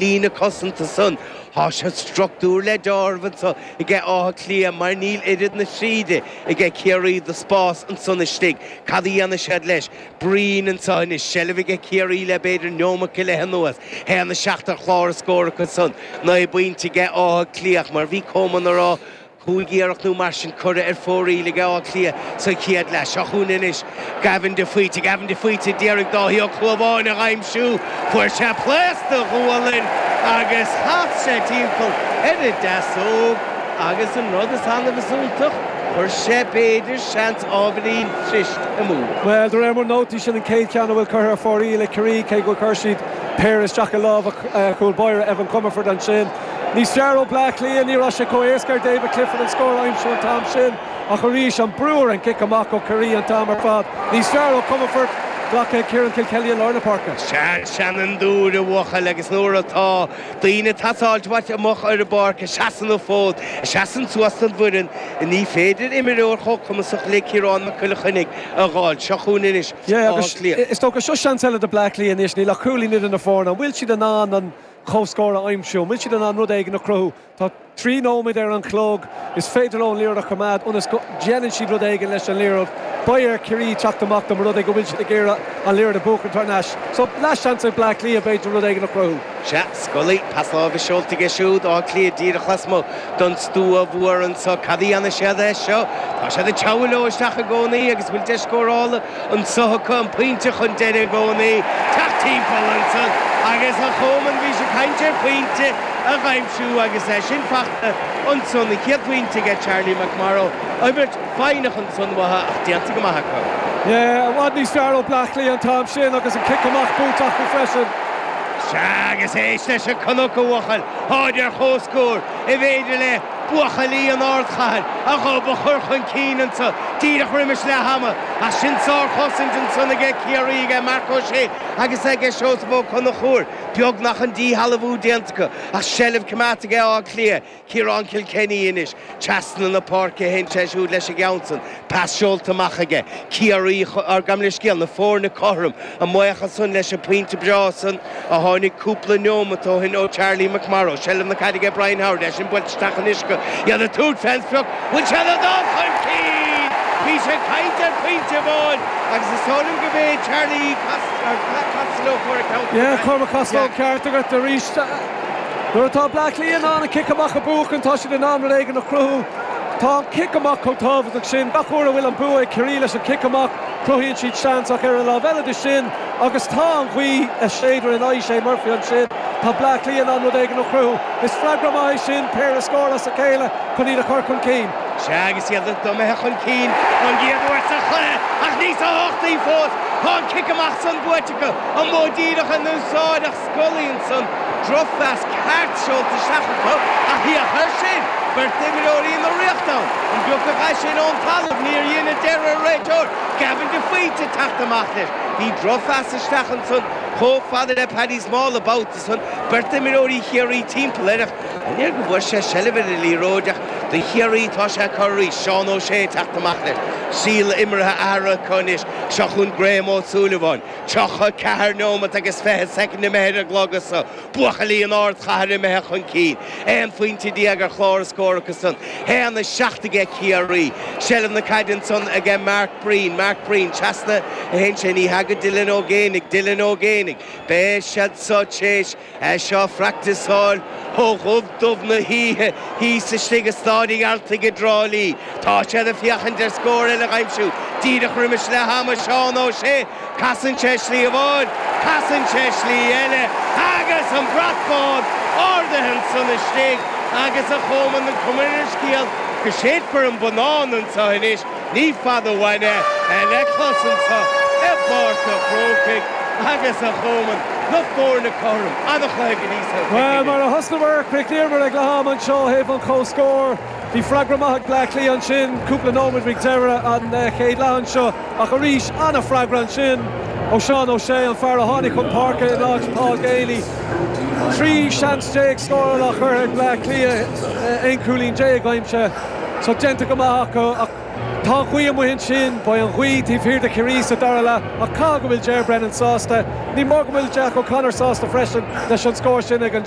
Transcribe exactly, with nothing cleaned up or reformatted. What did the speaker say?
Líne cosanta san Tá sé struchtúr le deáramh anseo aige Áth Cliath mar níl oiread na tríde aige Ciarraí de spás ansan istigh. Cad a dhéanfaidh siad leis? Breen anseo anois, seilbh aige Ciarraí le b'fhéidir neomat go leith anuas. Haon a seacht ar chlár a scór acu san. Naoi bpointe aige Áth Cliath mar bhí Coman a rá Cúig iarracht nó mar sin curtha ar fóraoil ag Áth Cliath sa chéad leath. Seo chugainn anois Gavin de Faoite. Gavin de Faoite d'iarraidh Dáithí Ó Clúmháin a aimsiú. Fuair sé pléasc de ghualainn agus chas sé timpeall ar a deasóg agus an rud is annamh is iontach, chuir sé b'fhéidir seans ábhairín trist amú. Bhuel, de réir mo nótaí sin an chéad cheann a bhfuil curtha ar fóraoil ag Ciarraí, cé gur chuir siad péire isteach i lámha chúl báire Evan Comerford ansin. Níos fearr ó Bleá Cliath, ní raibh sé chomh éasca ar David Clifford an scór a aimsiú an t-am sin, ach arís an brú ar an gcic amach ó Chiarraí an t-am ar fad. Níos fearr ó Comerford, glactha ag Ciarán Kilkelly i lár na páirce. Sea, seanfhondúir a bhuachaill agus nuair atá daoine ag pasáilt uait amach ar an bpáirc a seasann an fód, a seasann suas don bhfoireann, ní féidir imreoir chomh cumasach le Ciarán Mac Giolla Chainnigh a dh'fháil. Seo chugainn anois Yeah, agus Áth Cliath. Is dócha seo seans eile do Bleá Cliath anois, níl ach cúilín idir na foirne. An bhfuil siad in ann an comhscór a aimsiú? An bhfuil siad in ann rud éigin a chruthú? Tá trí nóiméad ar an chlog, is féidir leo an liathróid a choimeád ionas go ndéanann siad rud éigin leis an liathróid. Beidh ar Chiarraí teacht amach dá mba rud é go bhfuil siad ag iarraidh an liathróid a bhuachan thar n-ais. So leathsheans ag Bleá Cliath b'fhéidir rud éigin a chruthú. Sea, Scully, pas láimhe seolta aige siúd, Áth Cliath díreach lasmuigh den stua mhór anseo. Cad a dhéanfaidh siad é seo? Tá siad ag teagmháil leo isteach i gcónaí agus bhfuil deis scórála anseo acu, an pointe chun deiridh i gcónaí. Teacht timpeall ansan agus a Choman, bhí sé ag caint ar phointe a aimsiú agus é sin fachta ansan, an chéad phointe aige Charlie McMorrow. Imirt foighneach ansan uathu ach déanta go maith acu. Yeah, i bhfad níos fearr ó Bleá Cliath an t-am sin agus an cic amach buaite acu freisin. Sea, agus éist leis an cnoc a bhuachaill, táid ar comhscór, an bhféidir le buachaillí an ardchathair a ghob a chur chun cinn anso díreach roimis leath ama, ach sin sárchosaint ansan aige Ciarraí, aige Marc Ó Sé agus aige Seosamh Ó Conchúir. Beagnach an díshealbhú déanta acu, ach seilbh coimeádta aige Áth Cliath. Ciarán Kilkenny anois, trasna na páirce a théann sé siúd leis an gceann san. Pas seolta amach aige. Ciarraí, ár gabh mo leithscéal, na foirne cothrom, a mbuíochas san leis an bpointe breá san a tháinig cúpla neomat ó shin ó Charlie McMorrow. Seilbh na caide aige Brian Howard, é sin buailte isteach anois acu. Iad ag tabhairt fén sprioc. Bhfuil siad ag dul chun cinn? Bhí sé ag caint ar phointe amháin agus is dóigh liom go b'é Charlie Costello a fuair an ceann san. Yeah, Cormac Costello, ceart agat arís. Nuair atá Bleá Cliath in ann an cic amach a bhuachan, tá siad in ann rud éigin a chruthú. Tá an cic amach chomh tábhachtach sin. Gach uair a bhfuil an bua ag Ciarraí leis an cic amach, cruthaíonn siad seans ach ar an lámh eile de sin, agus tá an ghaoth ag séideadh in aghaidh Shane Murphy ansin, tá Bleá Cliath in ann rud éigin a chruthú. Is freagra maith é sin, péire scór as a chéile chun iad a chur chun cinn. Sea, agus iad imithe chun cinn don gcéad uair sa chluiche, ach níos tábhachtaí fós, tá an cic amach san buaite acu, an modh díreach in úsáid ach Scully ansan, drochphas ceart seolta isteach acu, ach féach air sin! Beirt d'imreoirí na Ríochta ann! An bpiocfadh é sin ón talamh? Níor dhein, a deir an réiteoir, Gavin de Faoite ag teacht amach leis. Bhí drochphas isteach ansan chomh fada le Paddy Small an babhta san, beirt d'imreoirí Chiarraí timpeall air ach an léir go bhfuair sé seilbh ar an liathróid ach do Chiarraí tá sé acu arís, Seán Ó Sé ag teacht amach leis. Stíl imeartha athraithe acu anois. Seo chugainn Graham Ó Súilleabháin. tríocha a ceathair neomat agus fiche soicind imithe ar an gclog anso. Buachaillí an ardchathair imithe chun cinn. Aon phointe déag ar chlár a scór acusan. Haon a seacht aige Ciarraí. Seilbh na caide ansan aige Mark Breen. Mark Breen. Trasna a théann sé. Ní hea go Dylan Ó Géibheannaigh. Dylan Ó Géibheannaigh. Beidh siad so tréis é seo a phracticeáil ó dhubh dubh na hoíche thíos istigh i Stáid an Ghearaltaigh i dTrá Lí. Tá siad ag féachaint ar scór eile a aimsiú díreach roimis leath ama. Seán Ó Sé, casann sé slí amháin, casann sé slí eile agus an brat bán ardaithe ansan istigh agus a Choman an cuma ar an scéal go séidfear an bonnán anseo anois. Ní fada uainn é le clos anseo i bPáirc an Chrócaigh agus a Choman, na foirne cothrom, an-chluiche go dtí so. Bhuel, mar a thosnamar, chríochnaíomar ag leath ama anseo ó thaobh an chomhscóir. Bhí freagra maith ag Bleá Cliath ansin, cúpla nóiméad roimh deireadh an chéad leath anseo, ach arís, an-fhreagra ansin ó Seán Ó Sé, an fear a tháinig chun páirce in áit Paul Geaney. Trí seans déag scórála curtha ag Bleá Cliath, aon chúilín déag aimsithe, so déanta go maith acu ach. Tá gaoth amuigh ansin beidh an ghaoth taobh thiar de Chiarraí sa dara leath ach cá go bhfuil Ger Brennan sásta, ní mór go bhfuil Jack O'Connor sásta freisin leis an scór sin ag an